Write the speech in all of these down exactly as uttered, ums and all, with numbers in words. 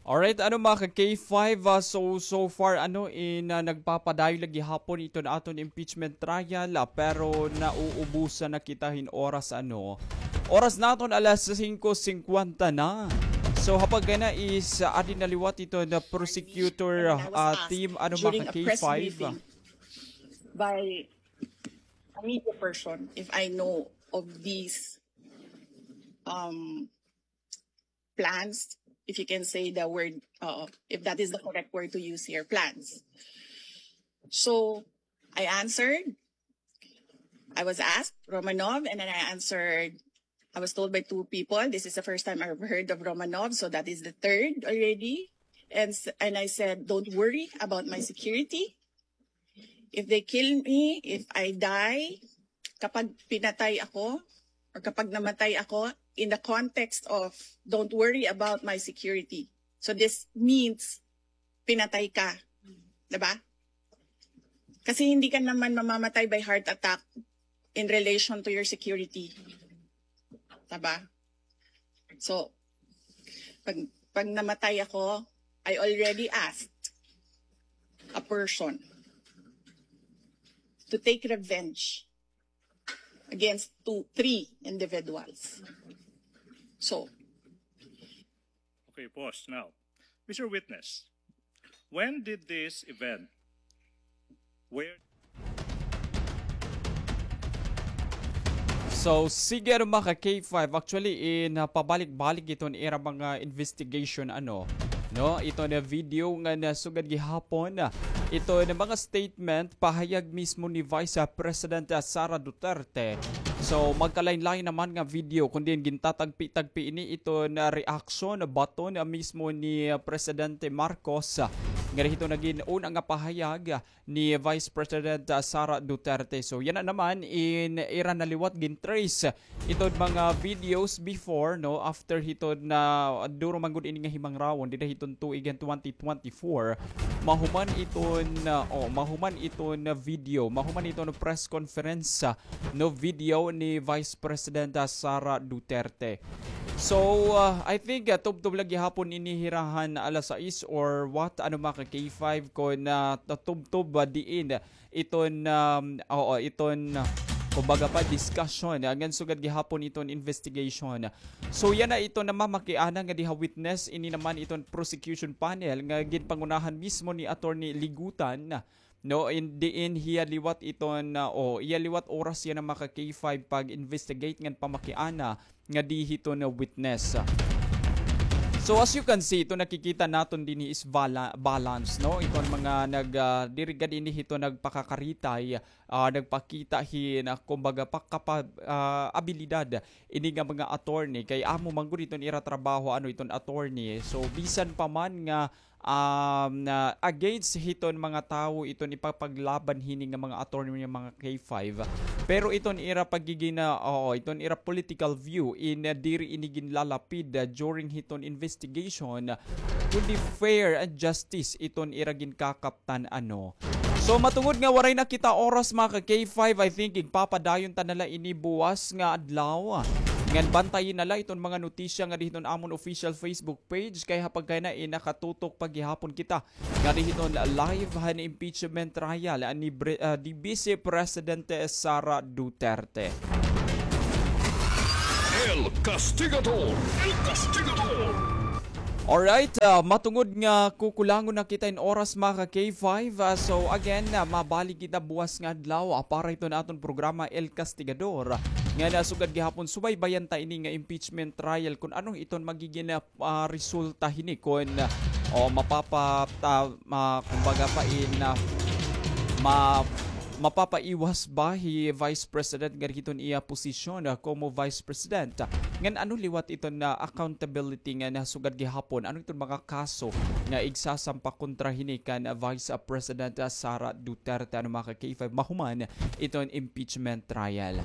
Alright, ano, mga ka K five, ah, so, so far, ano, in, ah, nagpapadayon lagi hapon iton aton impeachment trial, ah, pero nauubusan na kita hin oras, ano. Oras naton alas singko singkwenta na. So, hapag kay na is, ah, adi na liwat iton, ah, prosecutor, ah, team, ano, mga ka K five. By a media person, if I know of these, um, plans, if you can say the word, uh, if that is the correct word to use here, plans. So I answered. I was asked, Romanov, and then I answered. I was told by two people, this is the first time I've heard of Romanov, so that is the third already. And s- and I said, don't worry about my security. If they kill me, if I die, kapag pinatay ako, or kapag namatay ako, in the context of don't worry about my security. So this means pinatay ka. Diba? Kasi hindi ka naman mamamatay by heart attack in relation to your security. Diba? So, pag, pag namatay ako, I already asked a person to take revenge against two, three individuals. So, okay, pause now. Mister Witness, when did this event, where So, sige, ano, mga ka K five, actually, in, ah, pabalik-balik iton ira mga investigation, ano, no? Ito na video nga nasugad gihapon, ah, ito na mga statement, pahayag mismo ni Vice, ah, President, ah, Sara Duterte. So, magkalain-lain naman nga video, kundi gintatagpi-tagpi ini ito na reaction, baton, ah, mismo ni, ah, Presidente Marcos, ah, nga dihito nagin una nga pahayag, ah, ni Vice President, ah, Sara Duterte. So, yana naman in ira na liwat gin-trace iton mga videos before, no, after hiton na duro man gud ini nga himangrawon dida hiton tuig nga twenty twenty-four. Mahuman iton, ah, oh, mahuman iton video, mahuman iton press conference, ah, no, video ni Vice President, ah, Sara Duterte. So, ah, I think, ah, tubtob lagi hapon ini hira han alas sais or what, ano, mga ka K five, kon, ah, tubtob, ah, diin iton, um, oo, iton, ah, kumbaga pa, discussion, ah, ngan sugad gihapon iton investigation. So, yana iton namamakiana nga diha witness, ini naman iton prosecution panel nga ginpangunahan mismo ni Attorney Ligutan, no, in, diin hiya liwat iton, ah, o, iya liwat oras yana, mga ka K five, pag-investigate ngan pamakiana nga di hiton witness. So, as you can see, ito nakikita naton dinhi is bala-, balance, no? Iton mga nag, ah, diri gad ini hito nagpakakaritay, ah, nagpakita hin, ah, kumbaga, pakapa-, ah, abilidad ini nga mga attorney. Kay amo man gud iton ira trabaho, ano, iton attorney. So, bisan pa man nga um, na against hiton mga tawo iton ipapaglaban hini nga mga attorney nga mga K five. Pero iton ira pagigina, oo, iton ira political view in, uh, diri ini ginlalapid, uh, during hiton investigation, kundi fair and justice iton ira ginkakaptan, ano. So, matungod nga waray na kita oras, mga ka K five, I think igpapadayon ta na la ini buwas nga adlaw. Ngan bantayi na la iton mga notisya nga dihiton amon official Facebook page, kay hapag kay na, eh, nakatutok pa gihapon kita nga dihiton live han impeachment trial ni Bre-, ah, ni Vice Presidente Sara Duterte. El Castigador. El Castigador. Alright, ah, matungod nga kukulangon na kita in oras, mga ka K five, ah, so again, ah, mabalik kita buwas nga adlaw, ah, para hiton aton programa El Castigador. Nga nasugad gihapon, subaybayan ta ini nga impeachment trial, kun ano iton magigin, ah, ah, resulta hini, kun, ah, o mapapa-, ta-, ma-, kumbaga pa in, ah, ma-, mapapaiwas ba hi Vice President nga hiton iya posisyon, ah, komo Vice President? Ngan ano liwat iton na accountability nga nasugad gihapon? Ano iton mga kaso nga igsasampa kontra hini kan, ah, Vice, ah, President, ah, Sara Duterte, ano, mga ka K five, mahuman iton impeachment trial?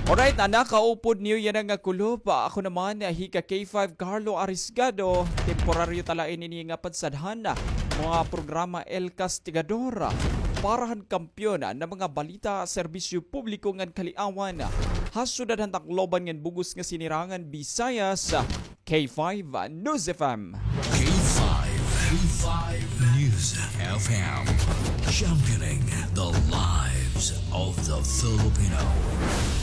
Alright, ah, nakaupod niyo yana nga kulop. Ah, ako naman, ah, hi ka K five Carlo Arisgado. Temporaryo ta la ini nga pagsadhan, ah, mga programa El Castigador, ah, para han kampiyon, ah, nga mga balita, serbisyo publiko ngan kaliawan, ah, ha syudad han Tacloban ngan bug-os nga sinirangan Visayas, ah, K five, ah, News F M. K five. Five News F M, championing the lives of the Filipino.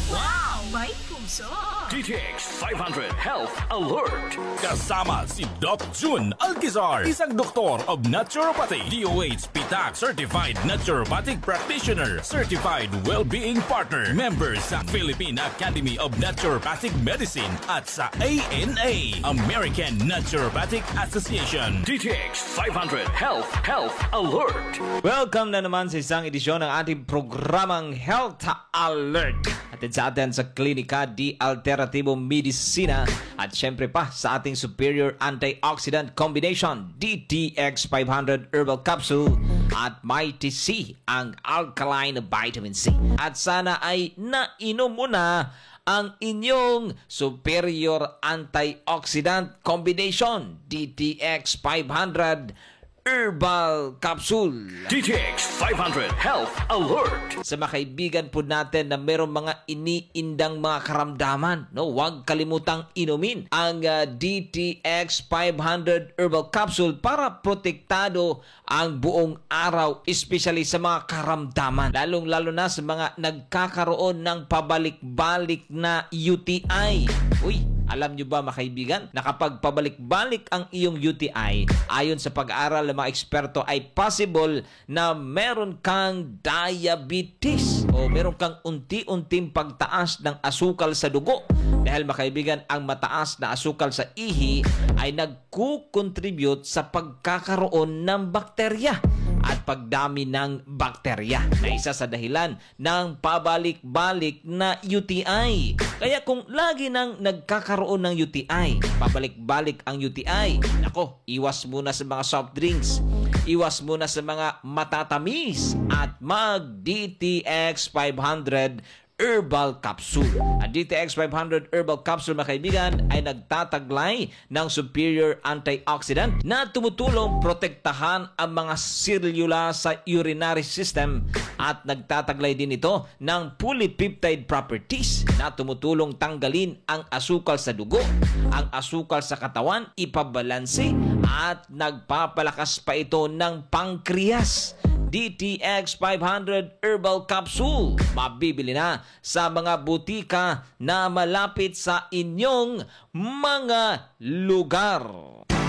Wow! May puso! D T X five hundred Health Alert. Kasama si Doc Jun Alquizar, isang doktor of naturopathy, D O H P tax certified naturopathic practitioner, certified well-being partner, member sa Philippine Academy of Naturopathic Medicine at sa A N A, American Naturopathic Association. D T X five hundred Health, Health Alert. Welcome na naman sa isang edisyon ng ating programang Health Alert. Hatid sa atin sa Klinika de Alternativo Medicina at syempre pa sa ating Superior Antioxidant Combination, D T X five hundred Herbal Capsule at Mighty C, ang alkaline vitamin C. At sana ay nainom mo na ang inyong Superior Antioxidant Combination, D T X five hundred Herbal Capsule. D T X five hundred Health Alert. Sa mga kaibigan po natin na merong mga iniindang mga karamdaman, no, huwag kalimutang inumin ang, ah, D T X five hundred Herbal Capsule para protektado ang buong araw, especially sa mga karamdaman. Lalong-lalo na sa mga nagkakaroon ng pabalik-balik na U T I. Uy, alam nyo ba, mga kaibigan, na kapag pabalik-balik ang iyong U T I, ayon sa pag-aaral ng mga eksperto, ay possible na meron kang diabetes o meron kang unti-unting pagtaas ng asukal sa dugo. Dahil, mga kaibigan, ang mataas na asukal sa ihi ay nagkukontribute sa pagkakaroon ng bakterya at pagdami ng bakterya na isa sa dahilan ng pabalik-balik na U T I. Kaya kung lagi nang nagkakaroon ng U T I, pabalik-balik ang U T I, nako, iwas muna sa mga soft drinks, iwas muna sa mga matatamis, at mag D T X five hundred Herbal Capsule. Ang D T X five hundred Herbal Capsule, mga kaibigan, ay nagtataglay ng superior antioxidant na tumutulong protektahan ang mga selula sa urinary system at nagtataglay din ito ng polypeptide properties na tumutulong tanggalin ang asukal sa dugo, ang asukal sa katawan, ipabalanse, at nagpapalakas pa ito ng pancreas. D T X five hundred Herbal Capsule, mabibili na sa mga butika na malapit sa inyong mga lugar.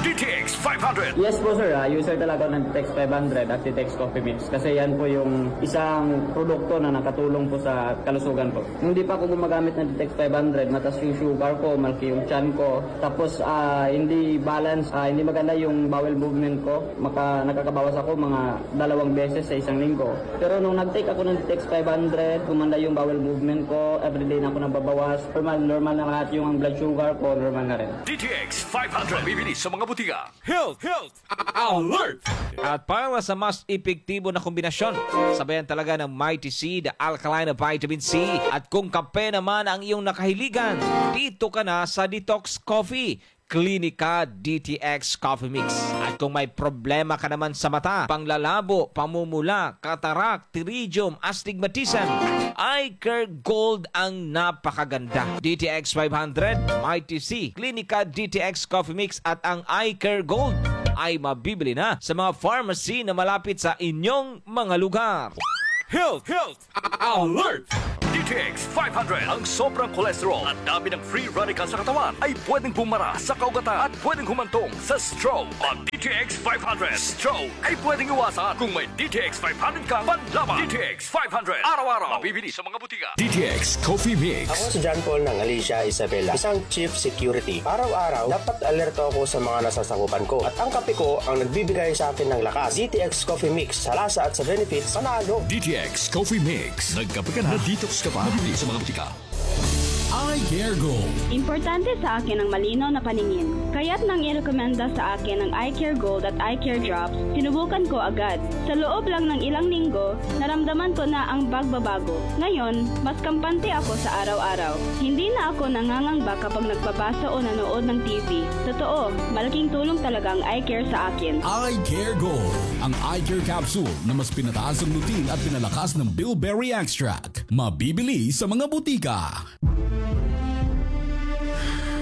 D T X five hundred. Yes po, sir. Ah, user talaga ng D T X five hundred at D T X Coffee Mix kasi yan po yung isang produkto na nakatulong po sa kalusugan ko. Nung di pa ako gumagamit ng D T X five hundred, mataas yung sugar ko, malaki yung tiyan ko, tapos, ah, hindi balance, ah, hindi maganda yung bowel movement ko. Maka-, nakakabawas ako mga dalawang beses sa isang linggo. Pero nung nag-take ako ng D T X five hundred, gumanda yung bowel movement ko, everyday na ako nababawas, normal, normal na lahat yung ang blood sugar ko, normal na rin. D T X five hundred, mabibili sa mga butika. Health, health, alert! At para sa mas epektibo na kombinasyon, sabayan talaga ng Mighty C, the alkaline vitamin C. At kung kape naman ang iyong nakahiligan, dito ka na sa Detox Coffee. Klinika D T X Coffee Mix. At kung may problema ka naman sa mata, panglalabo, pamumula, katarak, pterygium, astigmatism, Eye Care Gold ang napakaganda. D T X five hundred, Mighty C, Klinika D T X Coffee Mix at ang Eye Care Gold ay mabibili na sa mga pharmacy na malapit sa inyong mga lugar. Health, health, alert! D T X five hundred. Ang sobrang cholesterol at dami ng free radical sa katawan ay pwedeng bumara sa kaugatan at pwedeng humantong sa stroke. Mag D T X five hundred. Stroke ay pwedeng iwasan kung may D T X five hundred kang panlaban. D T X five hundred. Araw-araw. Mabibili sa mga butika. D T X Coffee Mix. Ako si John Paul ng Alicia Isabela, isang chief security. Araw-araw, dapat alerto ako sa mga nasasakupan ko. At ang kape ko ang nagbibigay sa akin ng lakas. D T X Coffee Mix, sa lasa at sa benefits, panalo. D T X Coffee Mix. Nagkape ka na, na-detox ka pa. Mabibili sa mga butika. Eye Care Gold. Importante sa akin ang malinaw na paningin. Kaya't nang irekomenda sa akin ang Eye Care Gold at Eye Care Drops, sinubukan ko agad. Sa loob lang ng ilang linggo, naramdaman ko na ang pagbabago. Ngayon, mas kampante ako sa araw-araw. Hindi na ako nangangamba kapag nagbabasa o nanood ng T V. Totoo, malaking tulong talaga ang Eye Care sa akin. Eye Care Gold, ang eye care capsule na mas pinataas ang lutein at pinalakas ng bilberry extract. Mabibili sa mga butika.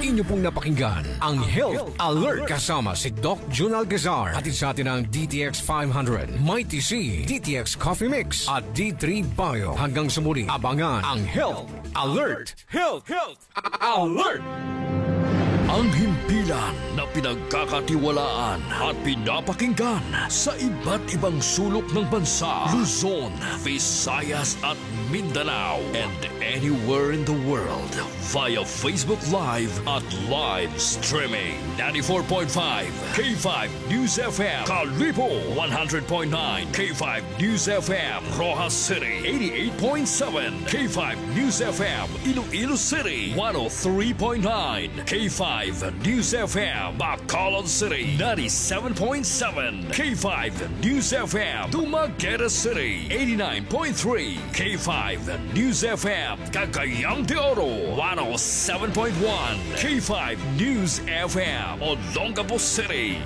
Inyo pong napakinggan ang Health Alert kasama si Doc Jun Alcazar. Hatid sa atin ng D T X five hundred, Mighty C, D T X Coffee Mix, at D three Bio. Hanggang sa muli, abangan ang Health Alert. Health, health, alert! Ang himpilan na pinagkakatiwalaan at pinapakinggan sa iba't ibang sulok ng bansa, Luzon, Visayas at Mindanao, and anywhere in the world via Facebook Live at live streaming. Ninety-four point five K five News F M, Kalibo, one hundred point nine K five News F M, Roxas City, eighty-eight point seven K five News F M, Iloilo City, one oh three point nine K five News F M, Bacolod City, ninety-seven point seven K five News F M, Dumaguete City, eighty-nine point three K five News F M, Cagayan de Oro, one oh seven point one K five News F M, Olongapo City.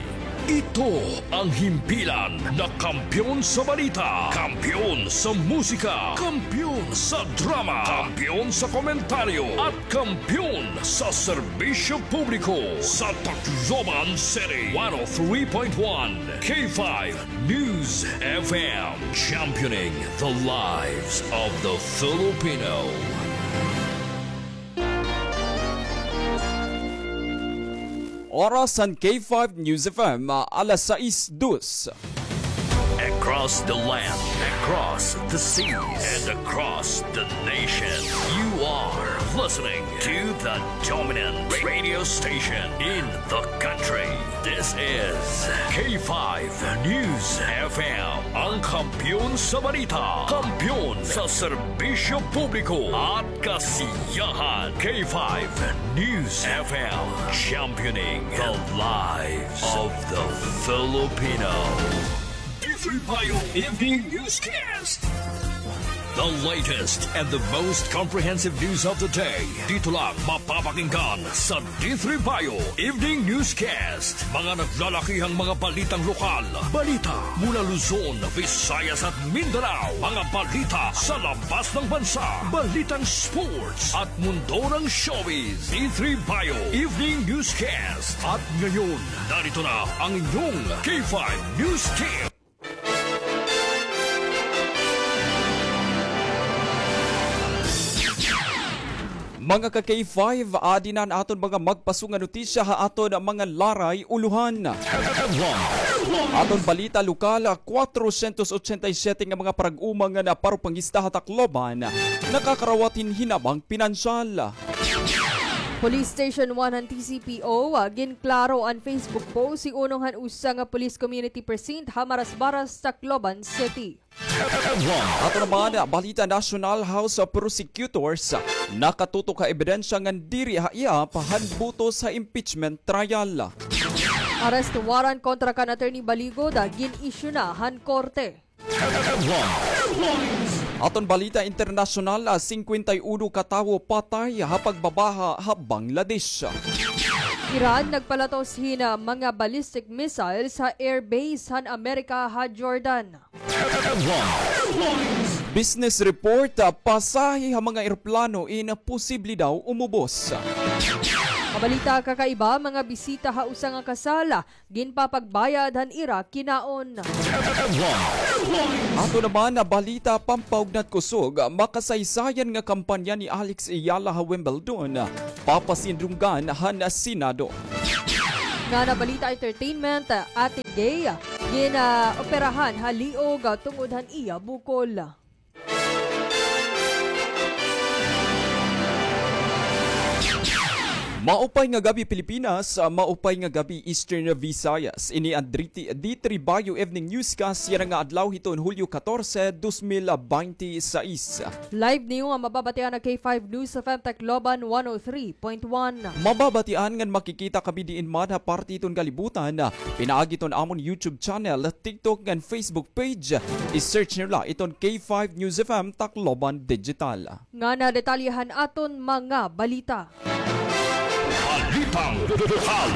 Ito ang himpilan na kampiyon sa balita, kampiyon sa musika, kampiyon sa drama, kampiyon sa komentaryo, at kampiyon sa serbisyo publiko sa Tacloban City. One oh three point one K five News F M, championing the lives of the Filipino. Oras han K five News F M, alas sais dos. Across the land, across the seas, and across the nation, you are listening to the dominant radio station in the country. This is K five News F M, ang kampiyon sa balita, kampiyon sa serbisyo publiko at kasiyahan. K five News F M, championing the lives of the Filipino. D three Bio Evening Newscast. The latest and the most comprehensive news of the day. Dito lang mapapakinggan sa D three Bio Evening Newscast. Mga naglalakihang mga balitang lokal. Balita mula Luzon, Visayas at Mindanao. Mga balita sa labas ng bansa. Balitang sports at mundo ng showbiz. D three Bio Evening Newscast. At ngayon, narito na ang inyong K five News Team. Mga ka-K five, adi na an aton mga magpaso nga notisya ha aton mga laray ulohan. Aton balita lokal, kwatrosyentos otsenta y siyete nga mga parag-uma nga naparupangista ha Tacloban nakakarawat hin hinabang pinansyal. Police Station one han T C P O, ah, ginklaro an Facebook post hiunong han usa nga police community precinct ha Marasbaras, Tacloban City. Ato naman, balita nasyonal, House of Prosecutors nakatutok ha ebidensya ngan diri ha ihap han butos ha impeachment trial. Arrest warrant kontra kan Attorney Baligod, ah, gin-issue na han korte. Aton balita internasyonal, ah, singkwenta y uno ka tawo patay ha pagbabaha ha Bangladesh. Iran nagpalatos hin, ah, mga ballistic missiles ha airbase han Amerika ha Jordan. Business report, ah, pasahe ha mga eroplano in posible daw umubos. Mabalita kakaiba, mga bisita ha usa nga kasal, ah, ginpapagbayad han ira kinaon. Ato naman nga balita, pampaugnat kusog, makasaysayan nga kampanya ni Alex Eala ha Wimbledon, papasindunggan han Senado. Ngana balita entertainment, Ate Gay, gin-, ah, operahan ha liog, ah, tungod han iya bukol. Maupay nga gab-i, Pilipinas. Maupay nga gab-i, Eastern Visayas. Ini an D three Bio Evening Newscast yana nga adlaw hiton Hulyo katorse, dos mil baynte sais. Live niyo nga mababatian ha K five News F M Tacloban one oh three point one. Mababatian ngan makikita kami diin man ha parte hiton kalibutan, pinaagi hiton amon YouTube channel, TikTok ngan Facebook page. I-search niyo la iton K five News F M Tacloban Digital. Ngana detalye han aton mga balita. Balitang lokal.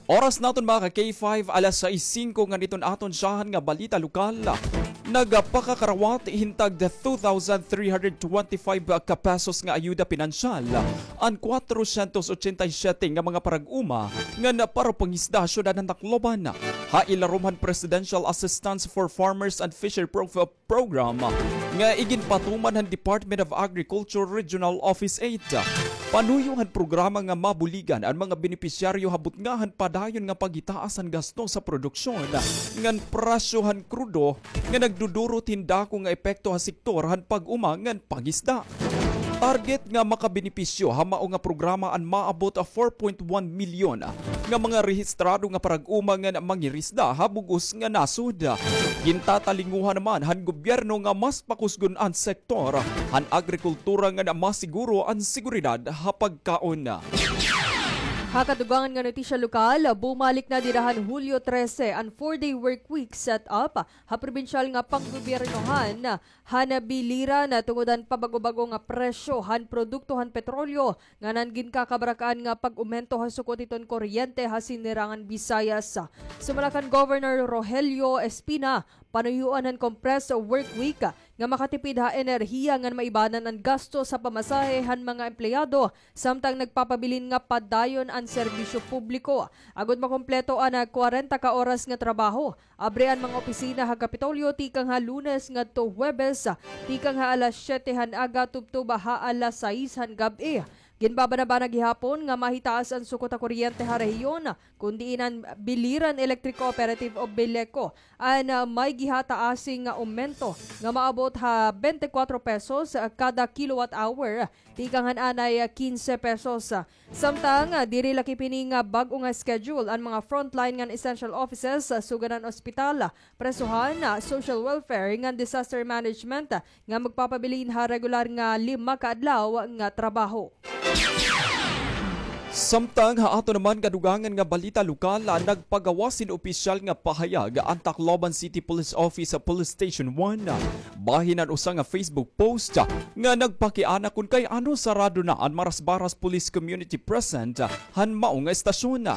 Oras naton, mga ka-K five, alas sais singko, ngan iton aton syahan nga balita lokal. Nagpakakarawat hin tag two thousand three hundred twenty-five ka pesos nga ayuda pinansyal an kwatrosyentos otsenta y siyete nga mga parag-uma ngan parapangisda ha syudad han Tacloban, ha ilarom han Presidential Assistance for Farmers and Fisher Prof-, Program nga iginpatuman han Department of Agriculture Regional Office eight. Panuyo han programa nga mabuligan an mga benepisyaryo ha butnga han padayon nga paghitaas han gasto sa produksyon ngan presyo han krudo nga nagdudurot hin dako nga epekto ha sektor han pag-uma ngan pangisda. Target nga makabenepisyo ha mao nga programa an maabot a four point one milyon nga mga rehistrado nga parag-uma ngan mangirisda ha bug-os nga nasod. Gintatalinguhan naman han gobyerno nga mas pakusgon an sektor han agrikultura ngan masiguro an seguridad ha pagkaon. Ha kadugangan nga notisya lokal, bumalik na dida han Hulyo trese an four-day work week set up ha probinsyal nga panggobyernohan han biliran tungod han pabago-bago nga presyo han produkto han petrolyo ngan an ginkakabarak-an nga pag-umento ha sukot hiton kuryente ha Sinirangan Visayas. Sumala kan Governor Rogelio Espina, panuyoan han compressed work week nga makatipid ha enerhiya ngan maibanan an gasto sa pamasahe han mga empleyado samtang nagpapabilin nga padayon an serbisyo publiko. Agod makumpleto an kwarenta ka oras nga trabaho, abri an mga opisina ha Kapitolyo tikang ha Lunes ngadto Huwebes, tikang ha alas siyete han aga tubtob ha alas sais han gab-i. Ginbabanabanag gihapon nga mahitaas an sukot ha kuryente ha rehiyon, kun diin an Biliran Electric Cooperative o Beleco an, ah, may gihataasi nga aumento nga maabot ha bente kwatro pesos, ah, kada kilowatt hour, tikang han anay, ah, kinse pesos. Samtang, ah, diri lakip hini nga bag-o nga schedule an mga frontline ngan essential offices, ah, sugad han ospital, ah, presohan, ah, social welfare ngan disaster management, ah, nga magpapabilin ha regular nga lima ka adlaw nga trabaho. Samtang ha aton naman kadugangan nga balita lokal, ah, nagpagawas hin opisyal nga pahayag an Tacloban City Police Office sa Police Station one, ah, bahin han usa nga Facebook post, ah, nga nagpakiana kun kay ano sarado na an Marasbaras Police Community Present, ah, han mao nga estasyon.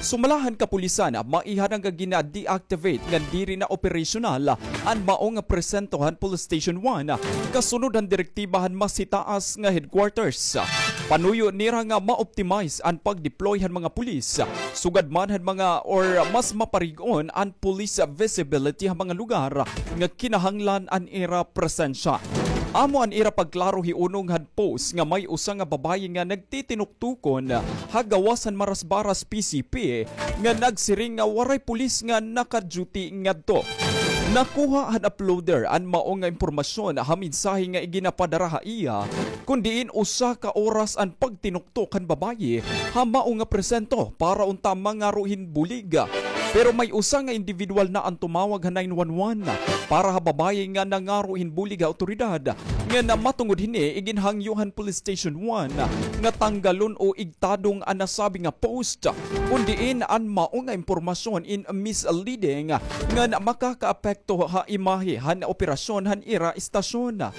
Sumala han kapulisan, maiha na nga gina-deactivate ngan diri na operasyonal an mao nga presento han Police Station one, kasunod han direktiba han mas hitaas nga headquarters. Panuyo nira nga ma-optimize an pag-deploy han mga pulis, sugad man han mga or mas maparig-on an police visibility ha mga lugar nga kinahanglan an ira presensya. Amo an ira pagklaro hiunong han post nga may usa nga babaye nga nagtitinuktukon ha gawas han Marasbaras P C P nga nagsiring nga waray pulis nga naka-duty ngadto. Nakuha han uploader an mao nga impormasyon ha mensahe nga iginapadara ha iya, kun diin usa ka oras an pagtinuktok han babaye ha mao nga presento para unta mangaro hin bulig. Pero may usa nga individual na an tumawag ha nine one one para ha babaye nga nangaro hin bulig ha awtoridad, ngan matungod hini iginhangyo han Police Station one nga tanggalon o igtadong an nasabi nga post, kun diin an mao nga impormasyon in misleading ngan makakaapekto ha imahe han operasyon han ira estasyon.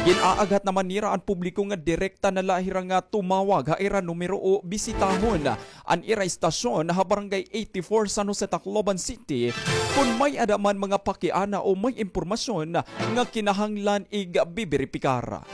Gin-aaghat naman nira an publiko nga direkta na la hira nga tumawag ha ira numero o bisitahon an ira estasyon ha Barangay eighty-four, San Jose, Tacloban City, kon may-ada man mga pakiana o may impormasyon nga kinahanglan igbiberipikar.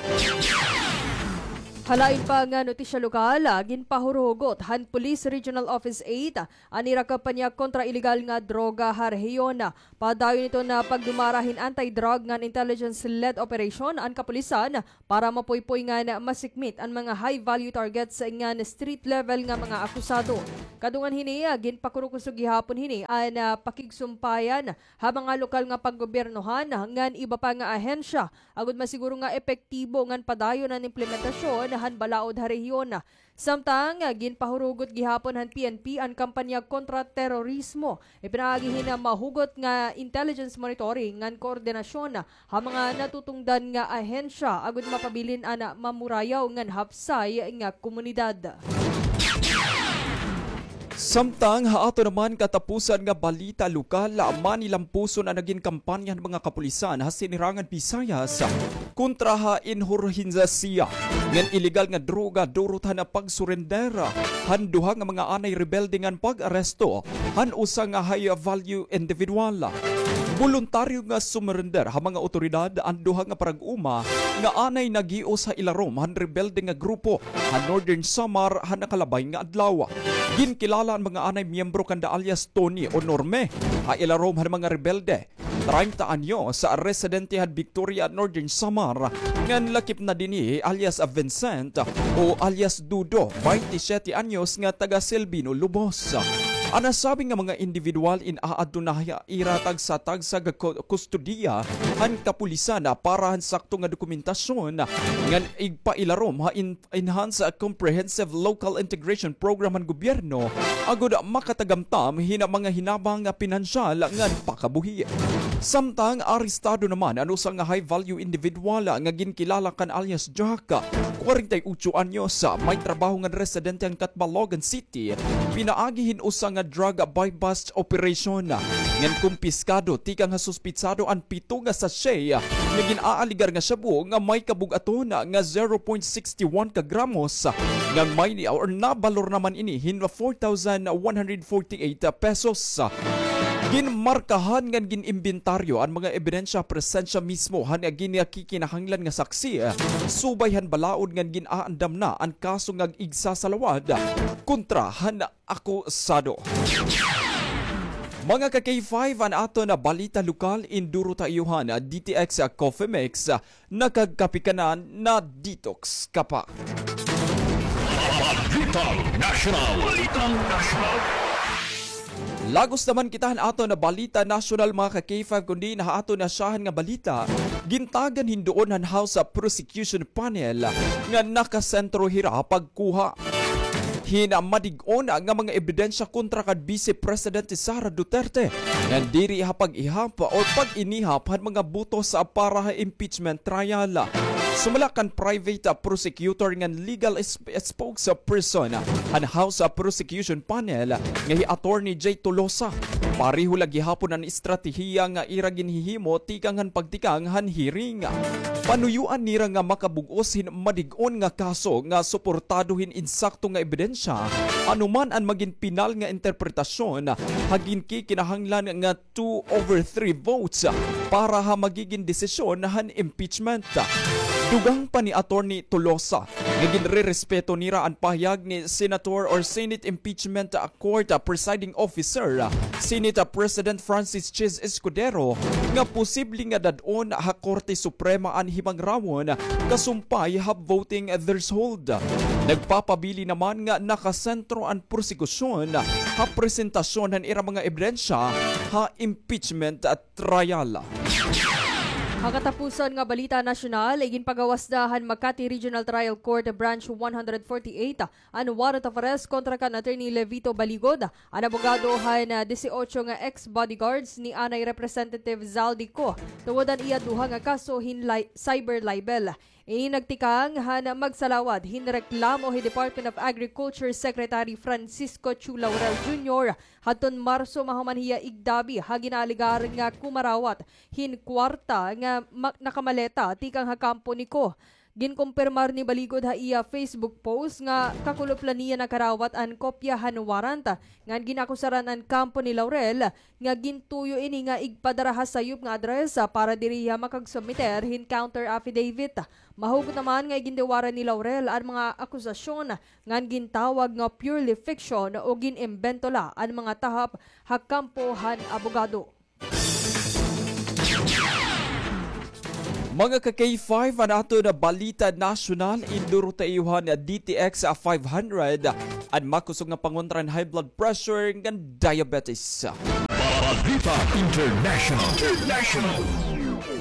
Ha lain pa nga notisya lokal, ginpahuruhugot han Police Regional Office eight an ira kampanya kontra ilegal nga droga ha rehiyon. Padayon iton pagdumara hin anti-drug ngan intelligence-led operation an kapulisan para mapuypoy ngan masikmit an mga high-value targets ngan street-level nga mga akusado. Kadungan hini, ginpakurukusog gihapon hini an, ah, pakigsumpayan ha mga lokal nga panggobyernohan ngan iba pa nga ahensya agod masiguro nga epektibo ngan padayon an implementasyon han balaod ha rehiyon. Samtang, ginpahurugot gihapon han P N P an kampanya kontra terorismo. Ipinaagi hin mahugot nga intelligence monitoring ngan koordinasyon ha mga natutungdan nga ahensya agod mapabilin an mamurayaw ngan hapsay nga komunidad. Samtang ha aton naman katapusan nga balita lokal, manilampuson an nagin kampanya han mga kapulisan ha Sinirangan Visayas kontra ha inhurhensya ngan ilegal nga droga durot han pagsurrender han duha nga mga anay rebelde ngan pag-aresto han usa nga high-value individual. Boluntaryo nga sumurrender ha mga awtoridad an duha nga parag-uma nga anay naghios ha ilarom han rebelde nga grupo ha Northern Samar ha nakalabay nga adlaw. Ginkilala an mga anay miyembro kanda alias Tony o Norme ha ilarom han mga rebelde. Treinta anyos, residente han Victoria, Northern Samar, ngan lakip na dinhi alias Vincent o alias Dudo, baynte siyete anyos, nga taga Silvino, Lobos. An nasabi nga mga indibidwal in aadto na ha ira tagsa-tagsa nga ku-, kustodiya han kapulisan para han sakto nga dokumentasyon ngan igpailarom ha in-, Enhanced Comprehensive Local Integration Program han gobyerno agod makatagamtam hin mga hinabang nga pinansyal ngan pakabuhi. Samtang arestado naman an usa nga high-value individual nga ginkilala kan alias Jack, kwarenta y otso anyos, may trabaho ngan residente han Catbalogan City, pinaagi hin usa nga drug buy-bust operation. Ngan kumpiskado tikang ha suspitsado an pito nga sachet nga gin-aaligar nga shabu nga may kabug-aton nga zero point six one ka gramos, ngan may ni-, or nabalor naman ini hin four thousand one hundred forty-eight pesos. Ginmarkahan ngan gin-imbentaryo an mga ebidensya presensya mismo han ginakikinahanglan nga saksi, subay han balaod ngan gin-aandam na an kaso nga igsasalawad kontra han akusado. Mga ka-K five, an aton nga balita lokal, induro ta iyo han D T X Coffee Mix, nakagkape ka na, na-detox ka pa. Balitang Nasyonal. Balitang Nasyonal. Lagos naman kita han aton nga balita nasyonal, mga ka-K five, kundi na ha aton nga syahan nga balita, gintagan hin duon han House Prosecution Panel nga nakasentro hira ha pagkuha hin madig-on nga mga ebidensya kontra kan Vice Presidente Sara Duterte, ngan diri ha pag-ihap o pag-inihap han mga butos para ha impeachment trial. Sumala kan private prosecutor ngan legal s-, spokesperson han House Prosecution Panel nga hi Attorney Jay Tolosa, pareho la gihapon an estratehiya nga ira ginhihimo tikang han pagtikang han hearing. Panuyoan nira nga makabug-os hin madig-on nga kaso nga suportado hin insakto nga ebidensya, ano man an magin pinal nga interpretasyon, ha ginkikinahanglan nga two over three votes para ha magigin desisyon han impeachment. Dugang pa ni Attorney Tolosa nga ginrerespeto nira an pahayag ni Senator or Senate Impeachment Court Presiding Officer, Senate President Francis Chiz Escudero, nga posible nga dad-on ha Korte Suprema an himangrawon kasumpay ha voting threshold. Nagpapabilin naman nga nakasentro an prosekusyon ha presentasyon han ira mga ebidensya ha impeachment trial. Ha katapusan nga balita nasyonal, iginpagawas na han Makati Regional Trial Court Branch one hundred forty-eight an warrant of arrest kontra kan Attorney Levito Baligod, an abogado han, ah, disiotso nga ex-bodyguards ni anay Representative Zaldy Co, tungod han iya duha nga kaso hin li-, cyber libel. Ini nagtikang han magsalawad hin reklamo hi Department of Agriculture Secretary Francisco Chu Laurel Junior hadton Marso mahuman hiya igdabi ha ginaalegar nga kumarawat hin kwarta nga ma-, nakamaleta tikang ha kampo ni Co. Ginkumpirmar ni Baligod ha iya Facebook post nga kakulop la niya nakarawat an kopya han warrant ngan gin-akusaran an kampo ni Laurel nga gintuyo ini nga igpadara ha sayop nga adresa para diri hiya makagsubmiter hin counter affidavit. Mahugot naman nga igindiwaran ni Laurel an mga akusasyon ngan gintawag nga purely fiction o gin-imbento la an mga tahap ha kampo han abogado. Mga ka-K five, an aton balita nasyonal, induro ta iyo han D T X five hundred, an makusog nga pangontra han high blood pressure ngan diabetes. Balita International. International.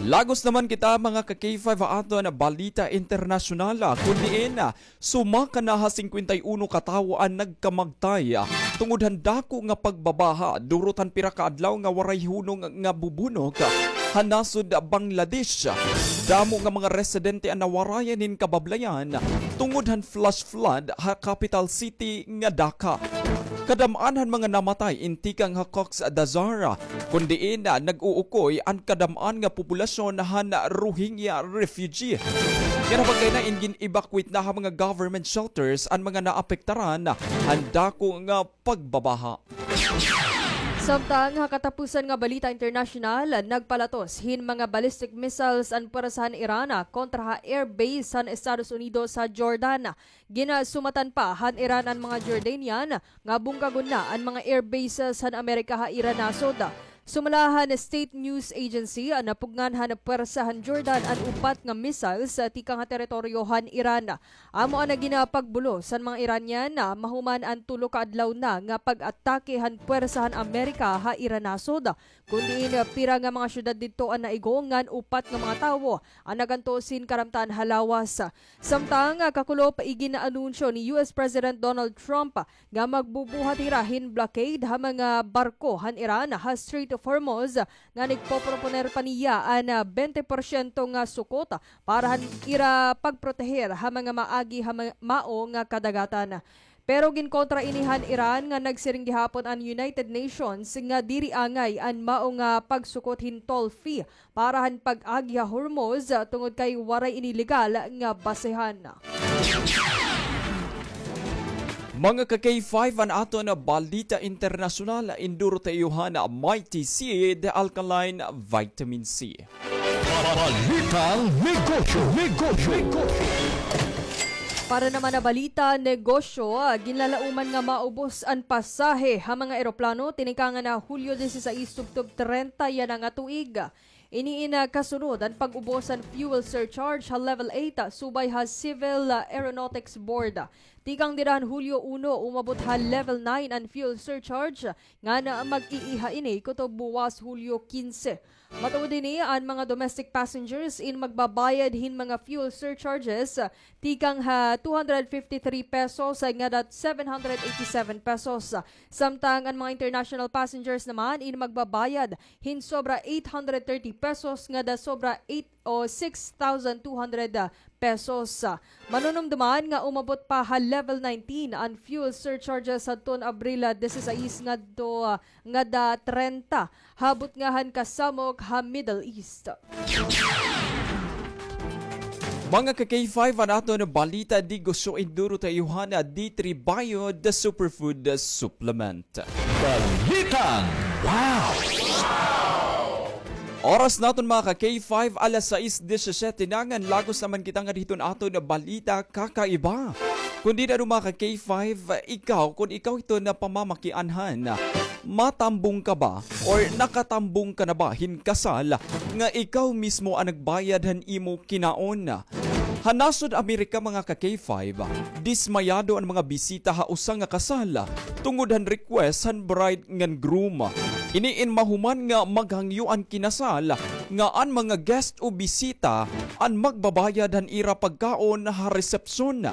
Lagos naman kita, mga ka-K five, ha aton balita internasyonal, kun diin Sumaka na ha singkwenta y uno ka tawo an nagkamagtay tungod han dako nga pagbabaha durot han pira ka adlaw nga waray hunong nga bubunok ha nasod Bangladesh. Damo nga mga residente an nawarayan hin kabablayan tungod han flash flood ha capital city nga Dhaka. Kadam-an han mga namatay in tikang ha Cox's Bazar, kun diin nag-uukoy an kadam-an nga populasyon han Rohingya refugee. Nga napagkay na in gin-evacuate na ha mga government shelters an mga naapektaran han dako nga pagbabaha. Samtang ha katapusan nga balita internasyonal, nagpalatos hin mga ballistic missiles an pwersa han Iran kontra ha air base han Estados Unidos ha Jordan. Ginasumatan pa han Iran an mga Jordanian nga bungkagon na an mga air bases han Amerika ha ira nasod. Sumala han state news agency, napugngan han pwersa han Jordan an upat nga missiles tikang ha teritoryo han Iran. Amo an ginapagbulos han mga Iranian, ah, mahuman an tulo ka adlaw na nga pag-atake han pwersa han Amerika ha ira nasod, kun diin, ah, pira nga mga syudad didto an naigo ngan upat nga mga tawo an nagantos hin karamtan ha lawas. Samtang, ah, kakulop, igin-anunsyo ni U S President Donald Trump nga magbubuhat hira hin blockade ha mga barko han Iran ha Strait of Hormuz, ngan igpoproponer pa niya an, ah, bente porsyento nga sukot para han ira pagproteher ha mga maagi ha ma-, mao nga kadagatan. Pero ginkontra ini han Iran nga nagsiring gihapon an United Nations nga diri angay an mao nga pagsukot hin toll fee para han pag-agi ha Hormuz tungod kay waray ini legal nga basehan. Mga ka K five, an aton balita internasyonal, induro ta iyo han Mighty Seed Alkaline Vitamin C. Balitang negosyo, negosyo, negosyo. Para naman ha balita negosyo, ah, ginlalauman nga maubos an pasahe ha mga eroplano tinikangan ha Hulyo disisais tubtob trenta yana nga tuig. Ini in, ah, kasunod an pag-ubos han fuel surcharge ha level eight, ah, subay ha Civil, ah, Aeronautics Board. Tikang dida han Hulyo uno, umabot ha level nine an fuel surcharge, ngan mag-iiha ini kutob buwas Hulyo kinse. Matuod hini, an mga domestic passengers in magbabayad hin mga fuel surcharges, ah, tikang ha two hundred fifty-three pesos, ah, ngada seven hundred eighty-seven pesos. Samtang an mga international passengers naman in magbabayad hin sobra eight hundred thirty pesos ngada sobra eight o six thousand two hundred pesos. Manunumduman nga umabot pa ha level nineteen an fuel surcharges hadton Abril disisais ngadto, ngada trenta, ha butnga han kasamok ha Middle East. Mga ka K five, an aton balita negosyo, induro ta iyo han D three Bio, the superfood supplement. Balitang Wow! Oras naton, mga ka K five, alas sais disisiyete na, ngan lagos naman kita ngadto hiton aton balita kakaiba. Kun dida, mga ka K five, ikaw, kun ikaw hiton pamamakianhan, matambong ka ba or nakatambong ka na ba hin kasal nga ikaw mismo an nagbayad han imo kinaon? Ha nasod Amerika, mga ka K five, dismayado an mga bisita ha usa nga kasal tungod han request han bride ngan groom. Ini in mahuman nga maghangyo an kinasal nga an mga guest o bisita an magbabayad han ira pagkaon ha resepsyon.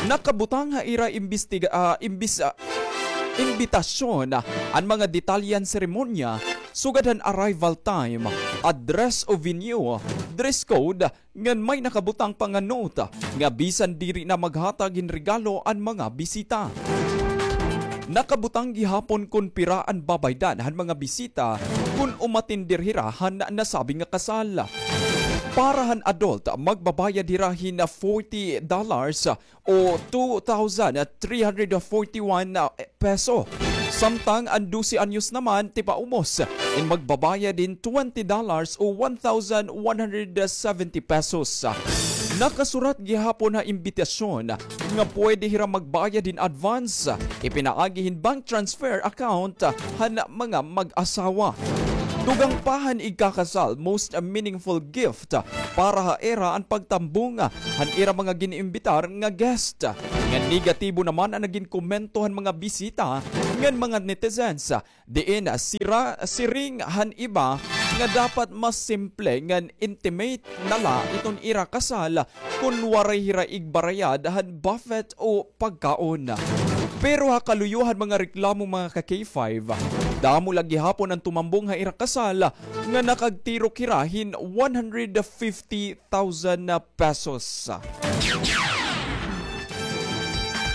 Nakabutang ha ira imbestiga-, ah, imbis-, ah, imbitasyon an mga detalye han seremonya, sugad han arrival time, address o venue, dress code, ngan may nakabutang pa nga note nga bisan diri na maghatag hin regalo an mga bisita. Nakabutang gihapon kon pira an babaydan han mga bisita kon umatender hira han nasabi nga kasal. Para han adult, magbabayad hira hin forty dollars o two thousand three hundred forty-one peso. Samtang an dose anyos naman tipaubos in magbabayad hin twenty dollars o one thousand one hundred seventy pesos. Nakasurat gihapon ha imbitasyon nga pwede hira magbayad hin advance, ipinaagi hin bank transfer account han mga mag-asawa. Dugang pa han igkakasal, most meaningful gift para ha ira an pagtambong han ira mga gin-imbitar nga guest. Ngan negatibo naman an nagin komento han mga bisita ngan mga netizens, diin sira siring han iba nga dapat mas simple ngan intimate na la iton ira kasal kon waray hira igbarayad han buffet o pagkaon. Pero ha kaluyo han mga reklamo, mga ka K five, damo la gihapon an tumambong ha ira kasal nga nakagtirok hira hin one hundred fifty thousand pesos.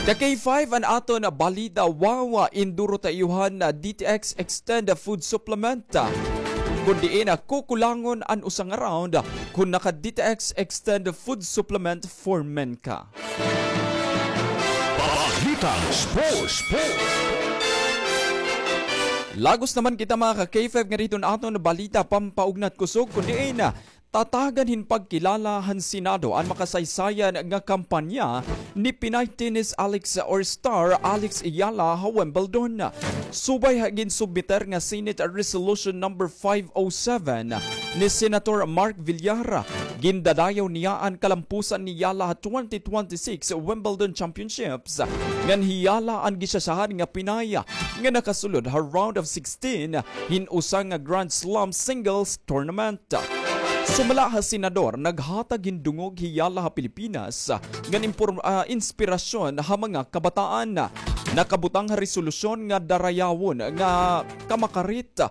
Ka K five, an aton balita, wow, induro ta iyo han D T X Extend Food Supplement. Kun diin kukulangon an usa nga round, kun naka-D T X Extend Food Supplement for Men ka. Balitang Sports. Lagos naman kita, mga ka-K five, nga didto an aton balita pampaugnat kusog, kun diin tatagan hin pagkilala han Senado an makasaysayan nga kampanya ni Pinay tennis Alex or star Alex Eala ha Wimbledon. Subay ha ginsubmiter nga Senate Resolution number five oh seven ni Senator Mark Villar, gindadayaw niya an kalampusan ni Eala ha twenty twenty-six Wimbledon Championships, ngan hi Eala an gisasyahan nga Pinay nga nakasulod ha round of sixteen hin usa nga Grand Slam singles tournament. Sumala ha senador, naghatag hin dungog hi Eala ha Pilipinas ngan impor-, ah, inspirasyon ha mga kabataan. Nakabutang ha resolusyon nga darayawon nga kamakarit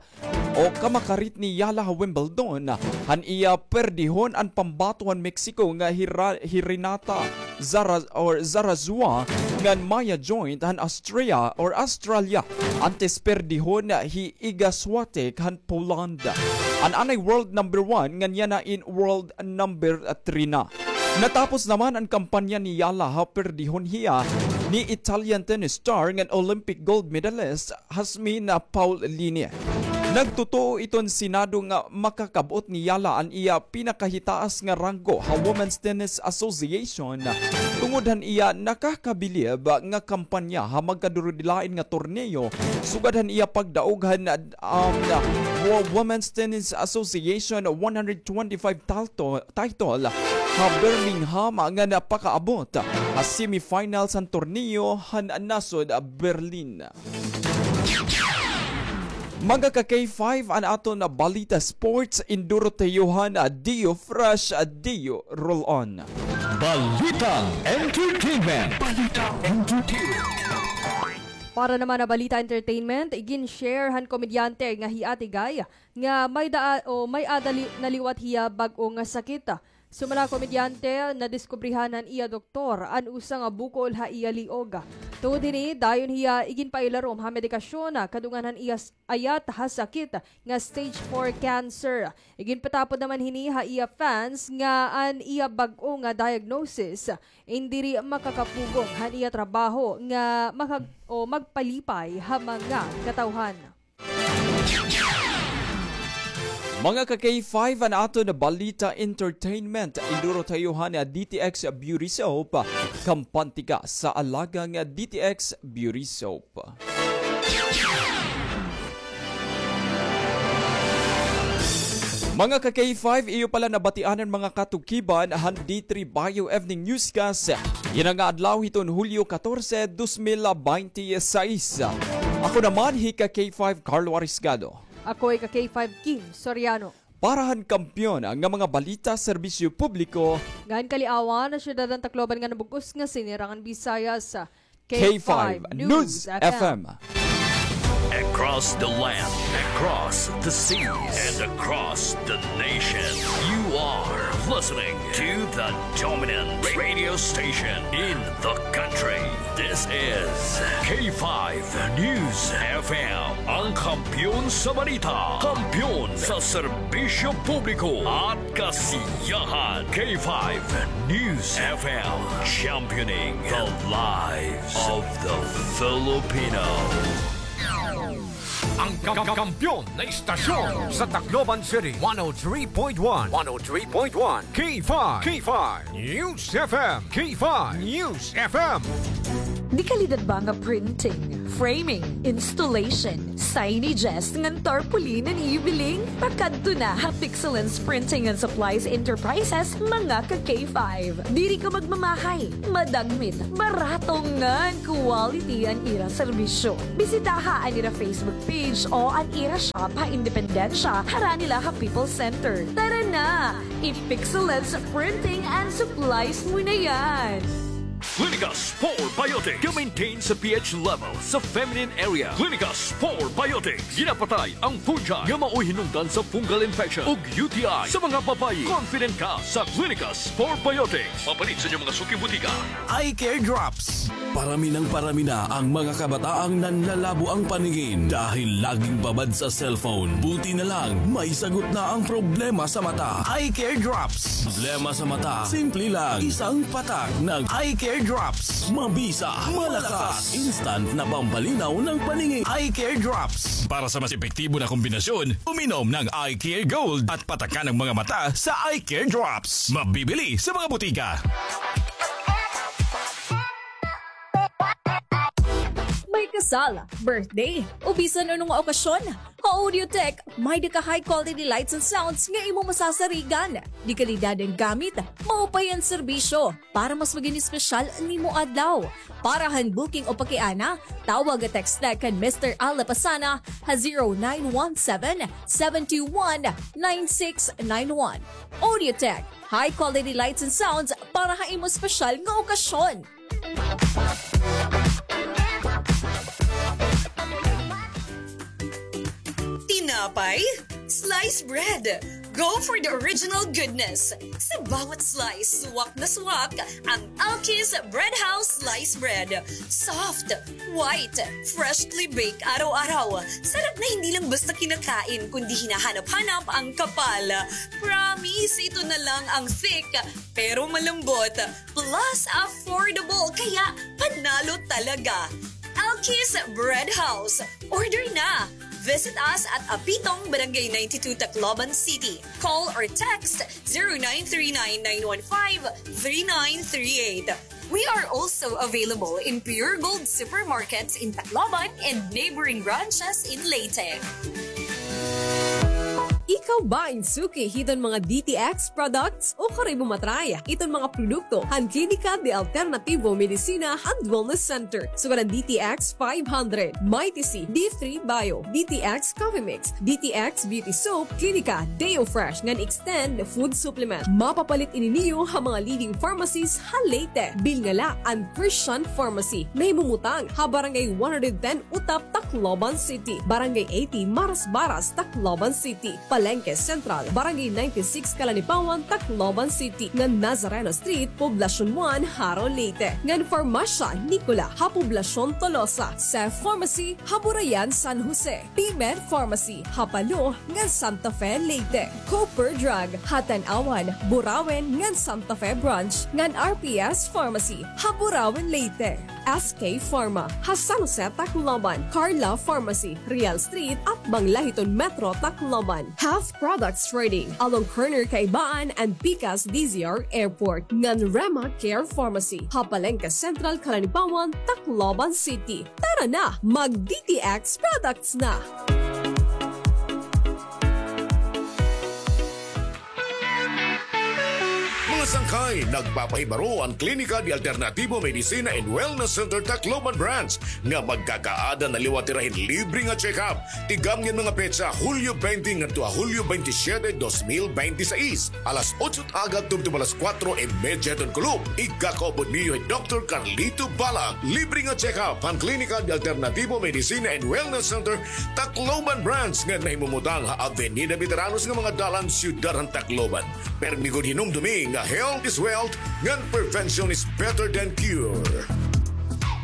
o kamakarit ni Eala ha Wimbledon han iya perdihon an pambato han Mexico nga Hira-, Hirinata Zara-, or Zarazua ngan Maya Joint han Austria or Australia, antes perdihon hi Iga Swiatek han Poland. An anay world number one ngan yana in world number three na. Natapos naman an kampanya ni Eala ha perdihon hiya ni Italian tennis star ngan Olympic gold medalist Jasmine Paolini. Nagtutuo iton Senado nga makakab-ot ni Eala an iya pinakahitaas nga ranggo ha Women's Tennis Association tungod han iya nakakabilib nga kampanya ha magkadurudilain nga torneo sugad han iya pagdaog han, um, Wo-, Women's Tennis Association one hundred twenty-five talto-, title ha Birmingham nga napakaabot ha semifinals han torneo han nasod Berlin. Mga ka-K five, an aton balita sports, induro ta iyo han Dio Fresh, Dio Roll On. Balitang entertainment. Balitang entertainment. Para naman ha balita entertainment, igin-share han komedyante nga hi Ate Guy nga may daa-, o may-ada li-, naliwat hiya bag-o nga sakit. Sumala komedyante, nadiskubrihan han iya doktor an usa nga bukol ha iya liog. Tungod hini, dayon hiya iginpailarom ha medikasyon, kadungan han iya s-, ayat ha sakit nga stage four cancer. Iginpatapod naman hini ha iya fans nga an iya bag-o nga diagnosis in diri makakapugong han iya trabaho nga makag-, o magpalipay ha mga katawhan. Mga ka-K five, an aton balita entertainment. Induro ta iyo han D T X Beauty Soap. Kampante ka sa alagang D T X Beauty Soap. Mga ka-K five, iyo pala nabatian an mga katukiban han D three Bio Evening Newscast yana nga adlaw hiton Hulyo katorse, dos mil baynte sais. Ako naman hi ka-K five Carlo Arisgado. Ako hi ka-K five Kim Soriano. Para han kampiyon nga mga balita, serbisyo publiko, ngan kaliawan ha syudad han Tacloban ngan bug-os nga sinirangan Visayas, K five News F M. Across the land, across the seas, and across the nation, you are listening to the dominant radio station in the country. This is K five News F M, ang kampiyon sa balita, kampiyon sa serbisyo publiko at kasiyahan. K five News F M, championing the lives of the Filipino. Ang ka-, ka-, kampiyon na istasyon sa Tacloban City, one oh three point one, one oh three point one, K five, K five News F M, K five News F M. Dekalidad ba nga printing, framing, installation, signages, ngan tarpaulin an iyo biling? Pakadto na ha Pixelance Printing and Supplies Enterprises, mga ka-K five. Diri ka magmamahay, madagmit, barato ngan quality an ira serbisyo. Bisitaha an ira Facebook page o an ira shop ha Independencia, harani la ha People's Center. Tara na! I-Pixelance Printing and Supplies mo na yan! Clinicas Four Biotics. Ga-maintain sa pH level sa feminine area. Clinicas Four Biotics. Ginapatay ang fungi nga maoy hinungdan sa fungal infection ug U T I sa mga babayi. Confident ka sa Clinicas Four Biotics. Mapalit sa inyong mga suking butika. Eye Care Drops. Parami nang parami na ang mga kabataang nanlalabo ang paningin dahil laging babad sa cellphone. Buti na lang, may sagot na ang problema sa mata. Eye Care Drops. Problema sa mata, simple lang. Isang patak ng Eye Care Drops. Mabisa, malakas, instant na pampalinaw ng paningin. Eye Care Drops. Para sa mas epektibo na kombinasyon, uminom ng Eye Care Gold at patakan ang mga mata sa Eye Care Drops. Mabibili sa mga butika. May kasal, birthday, o bisan ano nga okasyon, ha Audiotech, may-ada ka high quality lights and sounds nga imo masasarigan. De kalidad an gamit, maupay an serbisyo. Para mas magin espesyal an imo adlaw. Para han booking o pakiana, tawag o text na kan Mister Al Lapasana ha zero nine one seven, seven two one, nine six nine one. Audiotech, high quality lights and sounds para ha imo espesyal nga okasyon. Tinapay? Slice bread. Go for the original goodness. Sa bawat slice, swak na swak ang Alki's Bread House Slice Bread. Soft, white, freshly baked araw-araw. Sarap na hindi lang basta kinakain, kundi hinahanap-hanap ang kapal. Promise, ito na lang ang thick, pero malambot. Plus, affordable, kaya panalo talaga. Alki's Bread House. Order na! Visit us at Apitong, Barangay ninety-two, Tacloban City. Call or text zero nine three nine, nine one five, three nine three eight. We are also available in Pure Gold supermarkets in Tacloban and neighboring branches in Leyte. Ikaw ba in suki hiton mga D T X products? Ukari mo matry iton mga produkto han Klinika de Alternativo Medicina and Wellness Center. Sugad an D T X five hundred, Mighty C, D three Bio, D T X Coffee Mix, D T X Beauty Soap, Klinika Deo Fresh ngan Extend Food Supplement. Mapapalit ini niyo ha mga leading pharmacies ha Leyte. Bilngala an Christian Pharmacy, nahimumutang ha Barangay one hundred ten Utap, Tacloban City, Barangay eighty Marasbaras, Tacloban City, Palengke Central, Barangay ninety-six Calanipawan, Tacloban City, ngan Nazareno Street, Poblacion one, Jaro, Leyte, ngan Farmacia Nicola ha Poblacion Tolosa, Cef Pharmacy ha Burayan, San Jose, P-Med Pharmacy ha Palo ngan Santa Fe, Leyte, Cooper Drug ha Tanauan, Burauen ngan Santa Fe Branch, ngan R P S Pharmacy ha Burauen, Leyte. S K Pharma ha San Jose, Tacloban, Carla Pharmacy, Real Street, atbang la hiton Metro Tacloban, Health Products Trading, along corner Kaibaan and Pikas D Z R Airport, ngan Rema Care Pharmacy ha Palengke Central, Calanipawan, Tacloban City. Tara na, mag D T X products na! Mga sangkay, nagpapahibaro an Klinika de Alternativo Medicina and Wellness Center Tacloban Branch nga magkakaada na liwat hira hin libre nga check-up. Tikang niyan mga petsa, Hulyo twenty ngadto ha Hulyo twenty-siyete, dos mil bente seis, alas otso agod tubtob alas kuwatro y medya hiton kulop. Igkakaupod niyo hi Doktor Carlito Balang. Libre nga check-up han Klinika de Alternativo Medicina and Wellness Center Tacloban Branch nga nahimumutang ha Avenida Veteranos nga mga dalan, siyudad han Tacloban. Permi gud hinumdumi nga health is wealth, ngan prevention is better than cure.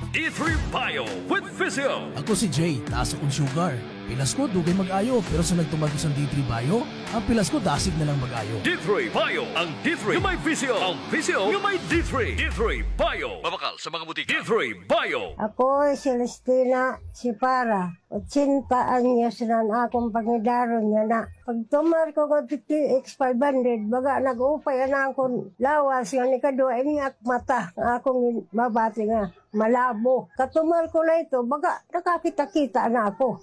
D three Bio with Physio. Ako si Jay, taas akon sugar. Pilas ko, dugay mag-ayo, pero sa nagtumar ko san D three Bio, an pilas ko dasig na lang mag-ayo. D three Bio, ang D three nga may Physio, ang Physio nga may D three. D three Bio. Mabakal sa mga butika. D three Bio. Ako si Celestina Sipara, otsenta anyos na an akon pangidaron niyan na. Pagtumar ko nga D T X five hundred, baga nag-upay an akon lawas, ngan ikaduha ini ak mata nga akon mabati nga malabo. Katumar ko na ito, baga nakakita-kita na ako.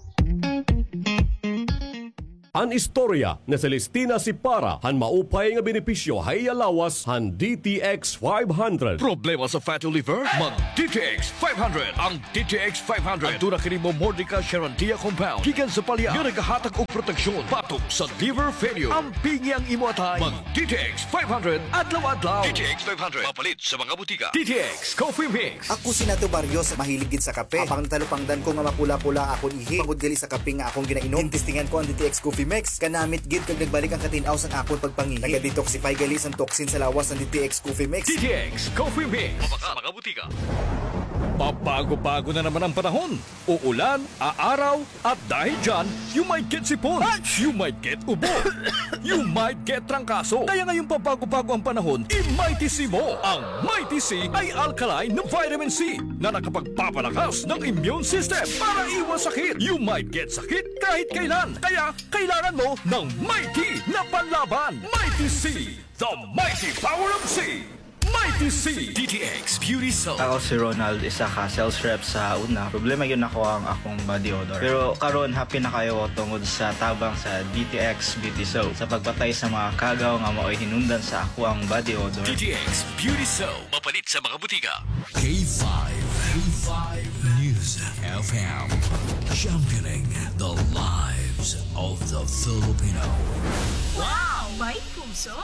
An istorya ni Celestina Sipara han maupay nga benepisyo ha iya lawas han D T X five hundred. Problema sa fatty liver? Mag D T X five hundred. An D T X five hundred. Aduna kini Momordica charantia compound gikan sa palya nga nagahatag og proteksyon batok sa liver failure. Ampingi an imo atay. Mag D T X five hundred adlaw-adlaw. D T X five hundred. Mapalit sa mga butika. D T X Coffee Mix. Ako si Nato Barrios, mahilig gid sa kape. Apang natalupangdan ko nga mapula-pula akon ihi tungod gali sa kape nga akon ginainom. Gintestingan ko an D T X Coffee Mix. Kanamit gid kag nagbalik an katin-aw san akon pagpangihi. Naga-detoxify gali san toxin sa lawas an D T X Coffee Mix. D T X Coffee Mix. Mabakal sa mga butika. Pabago-bago na naman ang panahon. Uulan, aaraw, at dahil dyan, you might get sipon, you might get ubo, you might get trangkaso. Kaya ngayong pabago-bago ang panahon, i-Mighty C mo. Ang Mighty C ay alkaline na vitamin C na nakapagpapalakas ng immune system para iwas sakit. You might get sakit kahit kailan. Kaya kailangan mo ng Mighty na panlaban. Mighty C, the mighty power of C. Mighty C. D T X Beauty Soap. Ako si Ronald, isa ka sales rep sa una. Problema gyud nako ang akong body odor. Pero karon, happy na kaayo ko tungod sa tabang sa D T X Beauty Soap. Sa pagpatay sa mga kagaw nga maoy hinungdan sa akoang body odor. D T X Beauty Soap. Mapalit sa mga butika. K five, K five News F M. Championing the lives of the Filipino. Wow! May puso!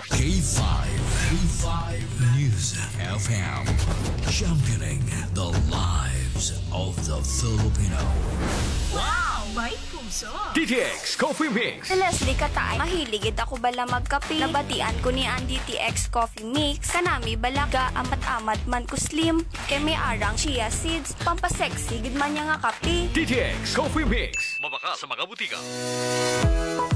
K five, K five News F M. Championing the lives of the Filipino. Wow! May puso! D T X Coffee Mix. Si Leslie Kataay, mahilig gid ako bala magkape. Nabatian ko ni an D T X Coffee Mix, kanami bala ga-amat-amat man ko slim, kay may arang chia seeds, pampasexy gid man niya nga kape. D T X Coffee Mix. Mabakal sa mga butika.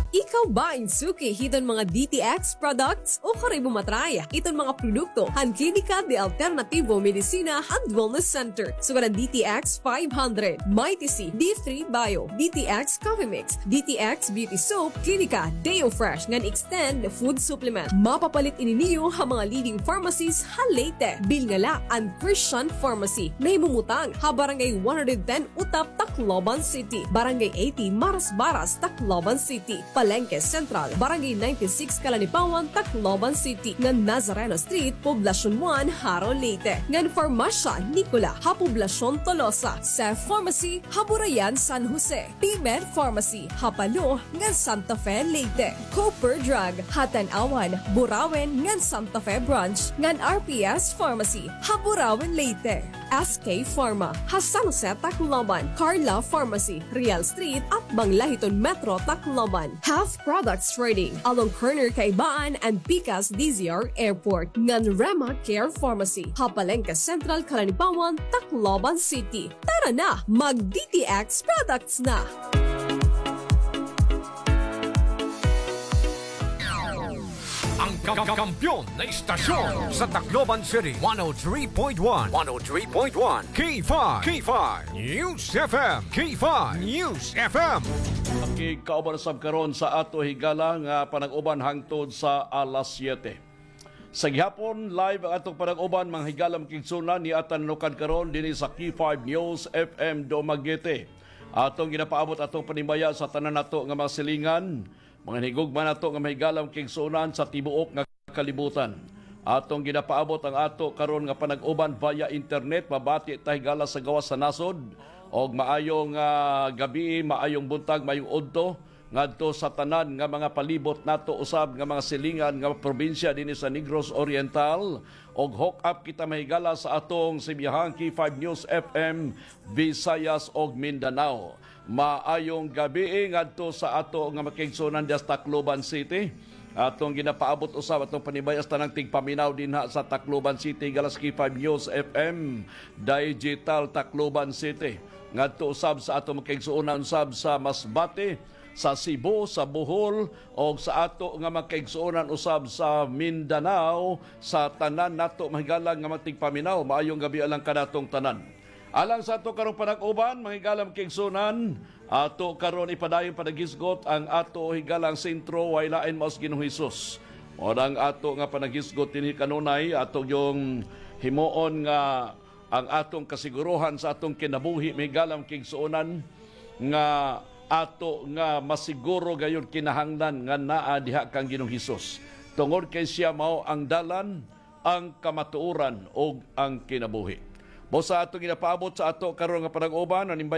Ikaw ba in suki hiton mga D T X products? O karoy mo ma-try iton mga produkto han Klinika de Alternativo Medicina and Wellness Center, sugad han D T X five hundred, Mighty C, D three Bio, D T X Coffee Mix, D T X Beauty Soap, Klinika Deo Fresh ngan Extend Food Supplement. Mapapalit ini niyo ha mga leading pharmacies ha Leyte. Bilngala an Christian Pharmacy, nahimumutang ha Barangay one hundred ten Utap, Tacloban City, Barangay eighty Marasbaras, Tacloban City, Palengke Central, Barangay ninety-six Calanipawan, Tacloban City, ngan Nazareno Street, Poblacion one, Jaro, Leyte, ngan Farmasya Nicola ha Poblacion Tolosa, Seth Pharmacy ha Burayan, San Jose, P-Med Pharmacy ha Palo ngan Santa Fe, Leyte, Cooper Drug ha Tanauan, Burauen ngan Santa Fe Branch, ngan R P S Pharmacy ha Burauen, Leyte. S K Pharma ha San Jose, Tacloban, Carla Pharmacy, Real Street, atbang la hiton Metro Tacloban, Health Products Trading, along corner Kaibaan and Pikas D Z R Airport, ngan Rema Care Pharmacy ha Palengke Central, Calanipawan, Tacloban City. Tara na, mag D T X products na! Ang ka-, kampiyon na istasyon sa Tacloban City, one oh three point one, one oh three point one, K five, K five News F M, K five News F M. Pakigkauban sab karon sa ato higala nga panag-uban hangtod sa alas siyete. Sa gihapon, live ang atong panag-uban, mga higala, mga kaigsunan, ni Atan Nukad karon dinhi sa K five News F M Dumaguete. Atong ginapaabot atong panimbaya sa tanan nato nga mga silingan, mga hinigugma nato nga mga higala, mga kaigsunan, sa tibuok nga kalibutan. Atong ginapaabot ang ato karon nga panag-uban via internet, mabati ta higala sa gawas sa nasod, og maayong, ah, gabii, maayong buntag, maayong udto ngadto sa tanan nga mga palibot nato, usab nga mga silingan nga probinsya dinhi sa Negros Oriental, og hook up kita, mga higala, sa atong sibiyahang K five News F M Visayas ug Mindanao. Maayong gabii ngadto sa ato nga mga kaigsunan diha sa Tacloban City. Atong ginapaabot usab atong panimbaya sa tanang tigpaminaw dinha sa Tacloban City, higala sa K five News F M Digital Tacloban City. Ngadto usab sa atong mga kaigsunan usab sa Masbate, sa Cebu, sa Bohol, o sa ato nga mga kaigsunan usab sa Mindanao, sa tanan nato, mga higala, nga mga tigpaminaw. Maayong gabii lang kanatong tanan. Alang sa ato karong panag-uban, mga higala, mga kaigsunan, ato karon ipadayon panaghisgot ang ato higalang sentro, way lain maos Ginoong Hesus. Mao na ang ato nga panaghisgot dinhi kanunay, ato gyung himuon nga ang atong kasiguruhan sa atong kinabuhi, mga higala, mga kaigsunan, nga ato nga masiguro gayud kinahanglan nga naa diha kang Ginoong Hesus. Tungod kay siya mao ang dalan, ang kamatuoran, ug ang kinabuhi. Busa atong ginapaabot sa ato karon nga panag-uban, panimbaya